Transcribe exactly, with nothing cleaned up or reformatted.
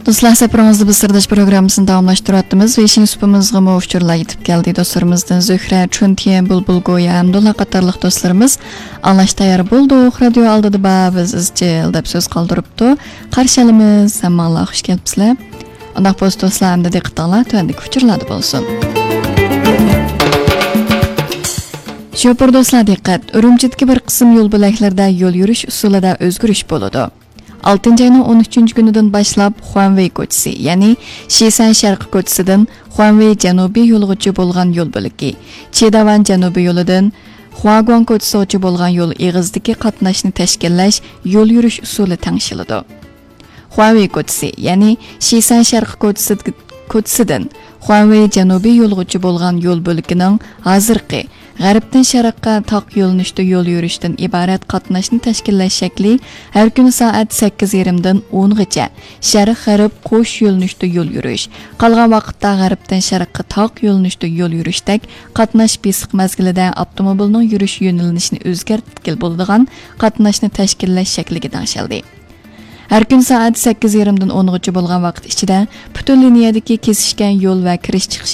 دوستلار، سەپىرىڭىزدە بىز سىرداش پروگراممىسىنى داۋاملاشتۇرۇۋاتىمىز. ۋېيشىن سۇپىمىزغىمۇ ئۇچۇرلار يېتىپ كەلدى. دوستلىرىمىزدىن زۆھرە، چۈنتيەن، بۇلبۇل گويا ھەمدۇللا قاتارلىق دوستلىرىمىز ئاڭلاش تەييار بولدۇق. رادىيو ئالدىدا بار، بىز ئىزچىل دەپ سۆز قالدۇرۇپتۇ. قارشى ئالىمىز، ھەممىڭلار خۇش كەپسىلەر. ئۇنداق بولسا دوستلار، ئەمدى دىققىتىڭلار تۆۋەندىكى ئۇچۇرلاردا بولسۇن. شوپۇر دوستلار دىققەت! ئۈرۈمچىدىكى بىر قىسىم يول بۆلەكلىرىدە يول يۈرۈش ئۇسۇلىدا ئۆزگىرىش بولىدۇ. ئالتىنچى ئاينىڭ ئون ئۈچىنچى كۈنىدىن باشلاپ خۇەنۋېي كوچىسى، يەنى شىسەن شەرقىي كوچىسىدىن خۇەنۋېي جەنۇبىي يولىغىچە بولغان يول بۆلىكى، چىداۋان جەنۇبىي يولىدىن خۇاگۇاڭ كوچىسىغىچە بولغان يول ئېغىزىدىكى قاتناشنى تەشكىللەش يول يۈرۈش ئۇسۇلى تەڭشىلىدۇ. خۇەنۋېي كوچىسى، يەنى شىسەن شەرقىي كوچىسى، كوچىسىدىن خۇەنۋېي جەنۇبىي يولىغىچە بولغان يول بۆلىكىنىڭ ھازىرقى غەربتىن شەرققە تاق يۆنىلىشتە يول يۈرۈشتىن ئىبارەت قاتناشنى تەشكىللەش شەكلى ھەر كۈنى سائەت سەككىز يېرىمدىن ئونغىچە شەرق غەرب قوش يۆنىلىشتە يول يۈرۈش، قالغان ۋاقىتتا غەربتىن شەرققە تاق يۆنىلىشتە يول يۈرۈشتەك قاتناش بېسىق مەزگىلىدە ئاپتوموبىلنىڭ يۈرۈش يۆنىلىشىنى ئۆزگەرتكىلى بولىدىغان قاتناشنى تەشكىللەش شەكلىگە تەڭشەلدى. ھەر كۈنى سائەت سەككىز يېرىمدىن ئونغىچە بولغان ۋاقىت ئىچىدە پۈتۈن لىنىيەدىكى كېسىشكەن يول ۋە كىرىش چىقىش